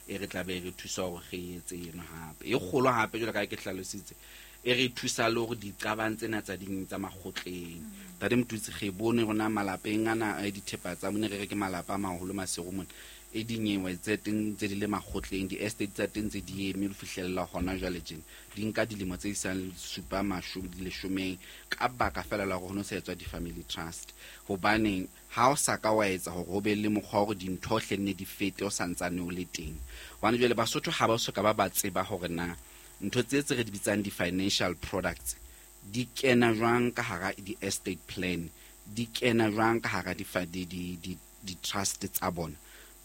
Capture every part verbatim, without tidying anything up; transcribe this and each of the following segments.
e re tla be re thusa hore re etse eno hape e kgolo hape jwalo ka ke hlalositse e re thusa le hore diqabang tsena tsa ding tsa makgotleng Ntate Motutsi re bone rona malapeng ana a dithepa tsa mone re re ke malapa a maholo Maseru mone e dinyewe tse teng tse di le makgotleng di-estate tsa teng tse di eme ho fihlella hona jwale tjena di nka dilemo tse isang supa mashome leshomeng ka baka fela la hore ho no sa etswa di-family trust. Hobaneng ha o sa ka wa etsa hore ho be le mokgwa wa hore dintho hle nne di fete o santsane o le teng. Hobane jwale Basotho ha ba soka ba ba tseba hore na ntho tse tse re di bitsang di-financial products di kena jwang ka hara di-estate plan, di kena jwang ka hara di-trust tsa bona.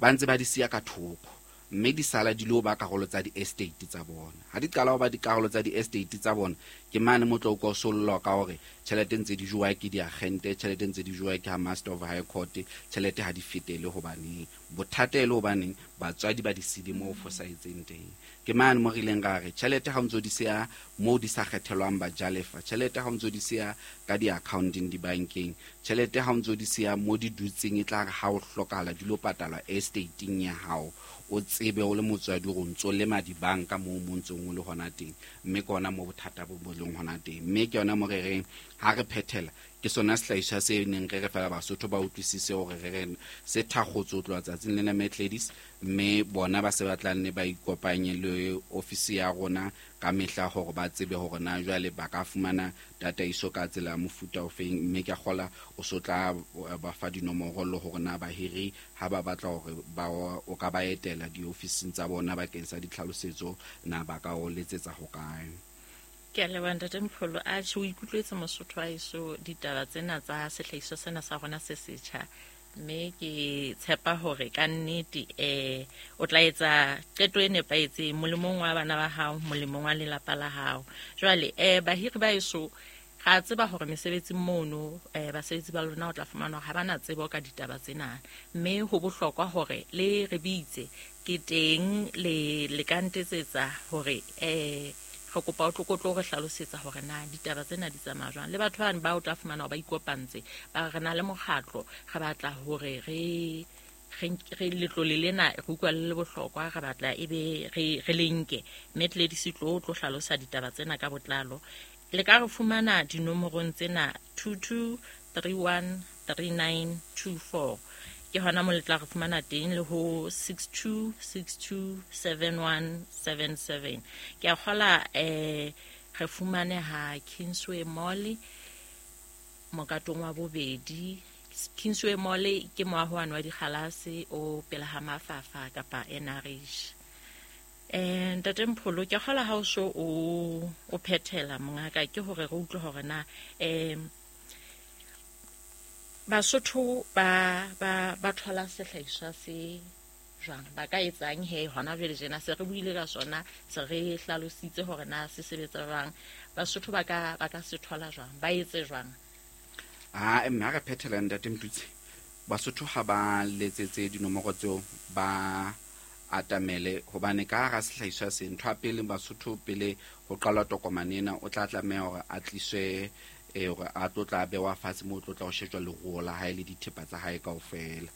Ba ntse ba di siya ka thoko mme di sala di lo ba karolo tsa di-estate tsa bona. Ha di qala ho ba dikarolo tsa di-estate tsa bona ke mane mo tlo utlwa o sollwa ka hore tjhelete ntse di jowa ke diagente, tjhelete ntse di jowa ke ha Master of High Court, tjhelete ha di fetele hobaneng. Bothata e le hobaneng batswadi ba di sile moo fosahetseng teng. Ke mane mo re ileng ra re tjhelete ha o ntso di siya moo di sa kgethelwang bajalefa, tjhelete ha o ntso di siya ka di-accounteng dibankeng, tjhelete ha o ntso di siya mo di dutseng e tla re ha o hlokahala di lo patalwa estate-eng ya hao. O tsebe o le motswadi hore o ntso lema dibanka moo mo ntsong o le hona teng, mme ke hona moo bothata bo bo leng hona teng. Mme ke yona mo re reng ha re phethela ke sona sehlahiswa se neng re re fela Basotho ba utlwisise hore re re se thakgotswe ho tloha tsatsing lena Matladies, mme bona ba se ba tla nne ba ikopanye le ofisi ya rona ka mehla hore ba tsebe hore na jwale ba ka fumana tataiso ka tsela ya mofuta ofeng. Mme ke a kgola o so tla ba fa dinomoro le hore na bahiri ha ba batla hore ba o ka ba etela diofising tsa bona bakeng sa ditlhalosetso na ba ka o letsetsa hokae. Ke a leboha Ntate Mpholo. Atjhe, o ikutlwetse Mosotho wa heso ditaba tsena tsa sehlahiswa sena sa rona se setjha, mme ke tshepa hore ka nnete eh o tla etsa qeto e nepahetseng molemong wa bana ba hao, molemong wa lelapa la hao. Jwale eh bahiri ba heso ra tseba hore mesebetsing mono eh basebetsi ba lona o tla fumana hore ha bana tsebo ka ditaba tsena, mme ho bohlokwa hore le re bitse ke teng le le ka ntetsetsa hore eh re kopa o tlo tlo re hlalosetsa hore na ditaba tsena di tsamaya jwang. Le batho bana ba o tla fumana hore ba ikopantse ba re na le mokgatlo, re batla hore re re letlole lena re utlwa le le bohlokwa, re batla ebe re re le nke. Mme Gladys tlo tlo hlalosa ditaba tsena ka botlalo. Le ka re fumana dinomorong tsena two two three one three nine two four, ke hona mo le tla re fumana teng, le ho six two six two seven one seven seven. Ke a kgola eh re fumaneha Kingsway Mall mokatong wa bobedi. Kingsway Mall ke moaho wa dikgalase o pela ha Mafafa kapa N R H. Eh Ntate Mpholo, ke kgola ha o so o o phethela mongaka, ke hore re utlwe hore na eh Basotho ba ba ba thola sehlahiswa se jwang, ba ka etsang he hona jwale jena se re buile ka sona, se re hlalositse hore na se sebetsa jwang, Basotho ba ka ba ka se thola jwang, ba etse jwang? Ah, mme ha re phethela Ntate Motutsi, Basotho ha ba letsetse dinomoro tseo ba atamele, hobane ka hara sehlahiswa se ntho ya pele Basotho pele ho qalwa tokomane ena o tla tlameha hore a tliswe e hore a tlo tla bewa fatshe moo tlo tla ho shejwa leruo la hae le dithepa tsa hae kaofela,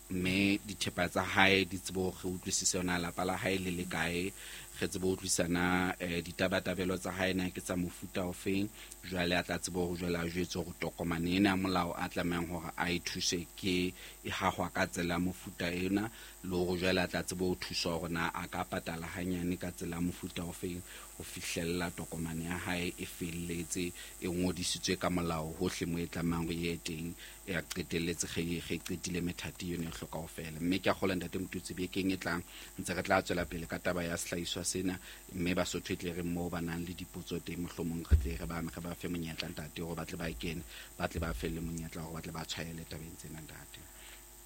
mme dithepa tsa hae di tsebe hore re utlwisise yona lapa la hae le le kae, re tsebe ho utlwisana eh ditabatabelo tsa hae na ke tsa mofuta ofeng. Jwale a tla tsebe hore jwale a jwetse hore tokomane ena ya molao a tlamehang hore a e thuse ke e hahwa ka tsela ya mofuta ena, le hore jwale a tla tsebe ho thuswa hore na a ka patala hanyane ka tsela ya mofuta ofeng ho fihlella tokomane ya hae e felletse e ngodisitswe ka molao hohle mo e tlamehang hore e ye teng, e a qetelletse ge ge qetile methati yone e hloka ho fela. Mme ke a kgolwa Ntate Motutsi bekeng e tlang ntse re tla tswela pele ka taba ya sehlahiswa sena, mme Basotho e tle re moo ba nang le dipotso teng mohlomong re tle re ba re ba fe monyetla ntate hore ba tle ba kene, ba tle ba felle monyetla hore ba tle ba tshwaele tabeng tsena ntate.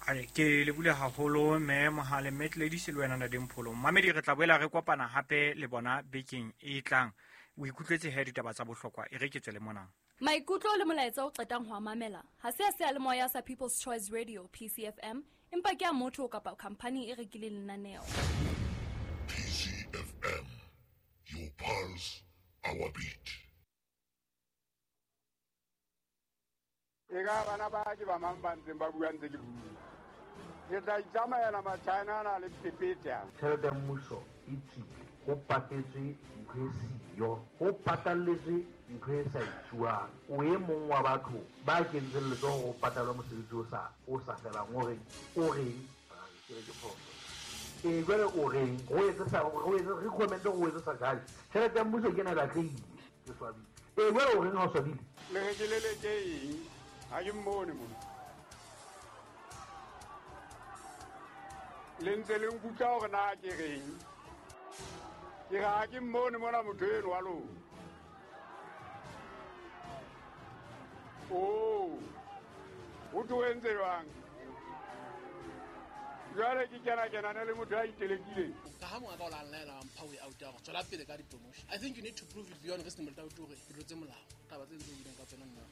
Ale ke le bule haholo mme Mohale, mme Gladys le wena Ntate Mpholo. Mamedi re tla boela re kopana hape le bona bekeng e tlang. O ikutlwetse he ditaba tsa bohlokwa, e re ke tswele mona. Maikutlo le molaetsa o qetang ho a mamela ha se a seyalemoya sa People's Choice Radio P C F M, empa ke a motho kapa khampani e rekileng lenaneo. P C F M, your pulse, our beat. E ka bana ba ke ba mang ba ntseng ba bua ntse ke bua. Re tla itsamaela Machina ana le phephethe. Tjhelete ya mmuso e tswile, ho patetswe ntho e siyo, ho patalletswe ntho e sa etsuwang. O e mong wa batho ba kentseng letsoho ho patalwa mosebetsi o sa o sa felang, o reng o reng ke re ke phoso. E jwale o reng ho etse sa ho etse recommend ho etse sa jale. Tjhelete ya mmuso ke ena e lahlehile, ke swabile. E jwale o reng ha o swabile? Le re ke leleke eng? Ha ke mmone mona. Le ntse le nkutlwa hore na ke reng? Ke re ha ke mmone mona motho eno wa lona. Oh, o tlo entse jwang? Jwale ke kena kenana le motho a itelekileng. Ka ha monga ka o la nlaela wa mpha way out ya hore tswela pele ka di-promotion. I think you need to prove it beyond reasonable doubt hore ke tlotse molao. Taba tse ntse o buileng ka tsona nna.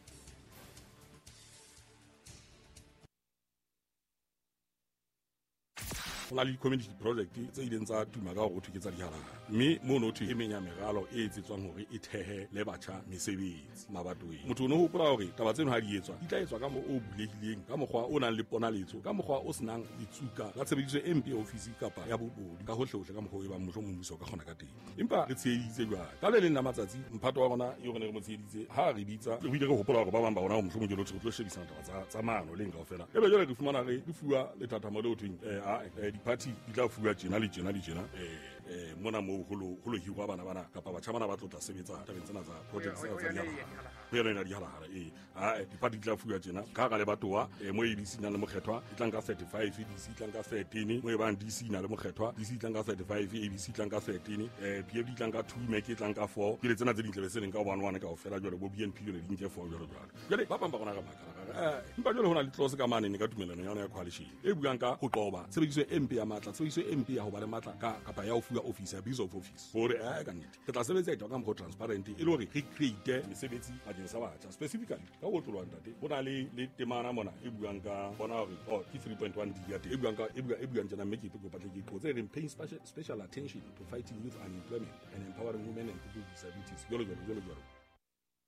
Ho na le di-community project tse ileng tsa tuma ka hore ho thwe ke tsa dihalala, mme mono ho thwe e meng ya meralo e etsetswang hore e thehe le batjha mesebetsi mabatoweng. Motho o no hopola hore taba tseno ha di etswa di tla etswa ka mo o bulehileng, ka mokgwa o nang le ponaletso, ka mokgwa o senang ditsuka la tshebediso e mpe ya ofisi kapa ya bobodu ka hohlehohle, ka mokgwa o e bang mohlomong mmuso o ka kgona ka teng. Empa re tsheheditse jwale ka le leng la matsatsi mphato wa rona eo re ne re mo tsheheditse ha re bitsa re ile re hopola hore ba bang ba rona ho mohlomong ke lo tlo shebisana taba tsa tsa maano leng kaofela, ebe jwale re fumana re re fuwa lethathamo le ho thweng eh a party di tla fuwa tjena le tjena le tjena eh eh mona moo ho lo ho lo hirwa bana bana kapa batjha bana ba tlo tla sebetsa tabeng tsena tsa project tsena tsa dihalala ho yona ena dihalala eh a di-party di tla fuwa tjena ka hara lebatowa mo A B C na le mokgethwa e tlang ka thirty-five, D C e tlang ka thirteen, mo e bang D C na le mokgethwa, D C e tlang ka thirty-five, A B C e tlang ka thirteen, eh P F D e tlang ka two, M E C e tlang ka four, ke le tsena tse ding tlabe se leng ka one one kaofela jwale bo B N P jwale di nke four jwalo jwalo. Jwale ba bang ba rona re makala eh empa jwale ho na le clause ka mane ne ka tumelano ya yona ya coalition e buang ka ho qoba tshebediso e mpe ya matla, tshebediso e mpe ya ho ba le matla ka kapa ya ho fuwa office, abuse of office, hore eh ka nnete re tla sebetsa ka mokgwa transparent e le hore re create mesebetsi bakeng sa batjha specifically ka ho otloloha ntate. Ho na le le temana mona e buang ka bona hore oh ke three point one D ya teng e buang ka e buang e buang tjena mme ke kopa tle ke qotse e reng paying special, special attention to fighting youth unemployment and empowering women and people with disabilities jwalo jwalo jwalo jwalo.